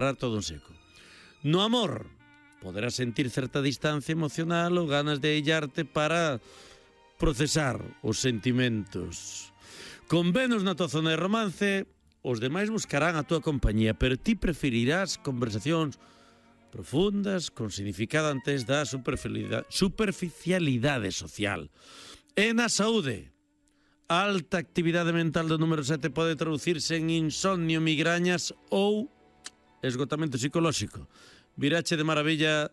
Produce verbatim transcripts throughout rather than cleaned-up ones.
todo en seco. No amor, poderás sentir certa distancia emocional ou ganas de aillarte para procesar os sentimentos. Con Venus na tua zona de romance, os demais buscarán a tua compañía, pero ti preferirás conversacións profundas, con significado antes da superficialidade, superficialidade social. E na saúde, alta actividade mental do número sete pode traducirse en insomnio, migrañas ou esgotamento psicolóxico. Virache de maravilla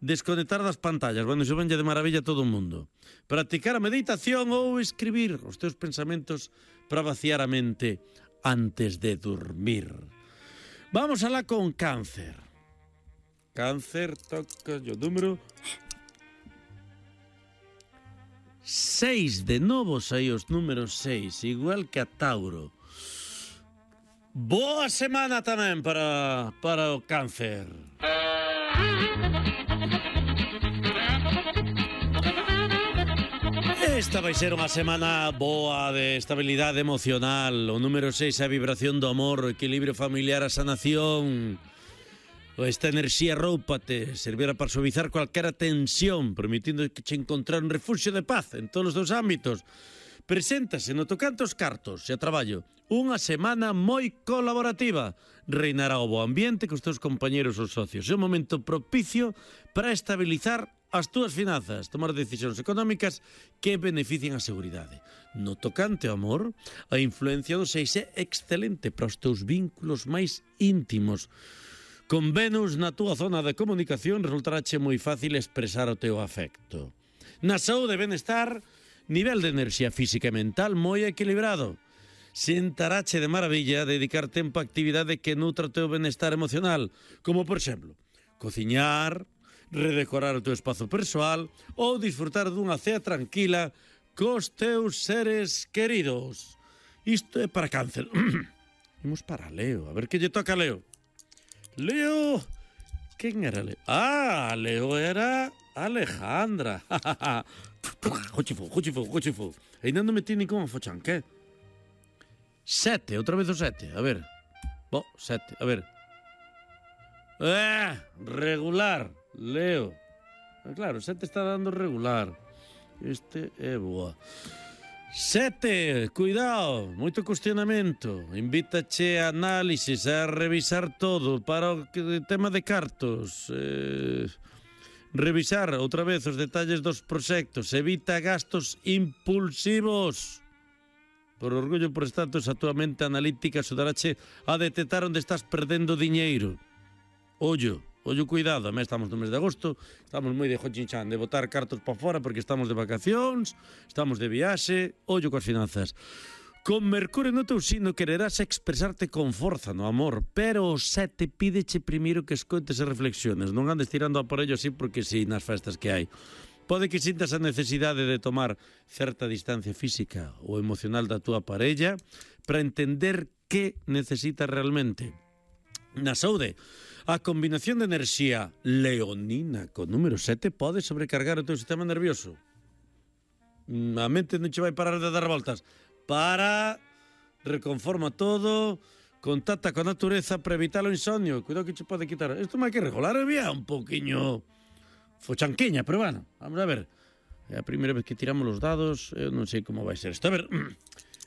desconectar das pantallas. Bueno, iso venlle de maravilla a todo o mundo. Practicar a meditación ou escribir os teus pensamentos para vaciar a mente antes de dormir. Vamos alá con cáncer. Cáncer, toca o número seis. De novo sai os números seis, igual que a Tauro. Boa semana tamén para, para o cáncer. Esta vai ser unha semana boa de estabilidade emocional. O número seis é a vibración do amor, o equilibrio familiar, a sanación. Esta enerxía róupate, servirá para suavizar cualquera tensión, permitindo que che encontrar un refugio de paz en todos os teus ámbitos. Preséntase no tocante aos cartos e a traballo unha semana moi colaborativa. Reinará o bo ambiente cos teus compañeros ou socios. É un momento propicio para estabilizar as túas finanzas, tomar decisións económicas que beneficien a seguridade. No tocante ao amor, a influencia do seis é excelente para os teus vínculos máis íntimos. Con Venus na túa zona de comunicación resultarache moi fácil expresar o teu afecto. Na saúde e benestar, nivel de enerxía física e mental moi equilibrado. Sentarache de maravilla dedicar tempo a actividade que nutra o teu benestar emocional, como, por exemplo, cociñar, redecorar o teu espazo persoal ou disfrutar dunha cea tranquila cos teus seres queridos. Isto é para cáncer. Imos para Leo, a ver que lle toca a Leo. Leo... Quen era Leo? Ah, Leo era Alejandra. Juchifo, juchifo, juchifo. Ainda non metí ni como fochan, que? Sete, outra vez o sete, a ver. Bo, sete, a ver. Eh, regular, Leo. Ah, claro, sete está dando regular. Este é boa. Sete, cuidado, moito cuestionamento. Invítache a análisis, a revisar todo para o tema de cartos. Eh, revisar outra vez os detalles dos proxectos. Evita gastos impulsivos. Por orgullo por estatus, a túa mente analítica axudarache a detectar onde estás perdendo diñeiro. Ollo, ollo, cuidado. Además, estamos no mes de agosto, estamos moi de jochinchan, de botar cartos para fora porque estamos de vacacións, estamos de viaxe. Ollo coas finanzas. Con Mercurio no teu signo quererás expresarte con forza no amor, pero o sete pídeche primeiro que escoites e reflexiones. Non andes tirando a por ello así porque si nas festas que hai. Pode que sintas a necesidade de tomar certa distancia física ou emocional da túa parella para entender que necesitas realmente. Na saúde, a combinación de enerxía leonina con número sete pode sobrecargar o teu sistema nervioso. A mente non che vai parar de dar voltas. Para, reconforma todo, contacta con a natureza para evitar o insomnio. Cuidado que che pode quitar. Isto máis que regular, había un poquinho fochanquiña, pero bueno, vamos a ver. É a primeira vez que tiramos os dados, eu non sei como vai ser isto. A ver,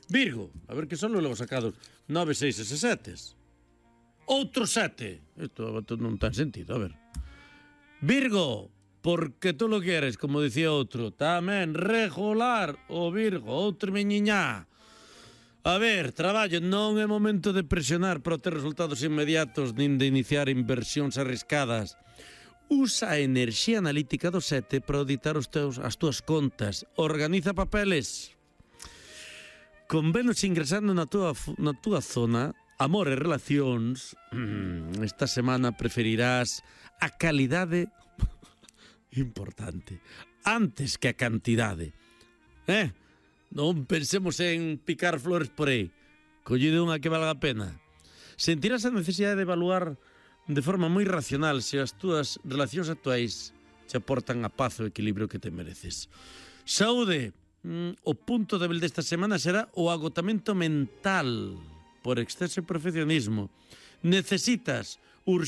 Virgo, a ver que son logo sacados nove, seis e sete. Outro sete. Isto non ten sentido, a ver. Virgo, porque tú lo quieres, como dicía outro. Tamén regular o Virgo, outro meñiñá. A ver, traballo, non é momento de presionar para ter resultados inmediatos nin de iniciar inversións arriscadas. Usa a enerxía analítica do sete para auditar os teus, as túas contas. Organiza papeles. Con Venus ingresando na túa, na túa zona, amor e relacións, esta semana preferirás a calidade importante antes que a cantidade. Eh? Non pensemos en picar flores por aí. Collide unha que valga a pena. Sentirás a necesidade de evaluar de forma moi racional se as túas relacións actuais te aportan a paz e o equilibrio que te mereces. Saúde, mm, o punto débil desta semana será o agotamento mental por exceso de perfeccionismo. Necesitas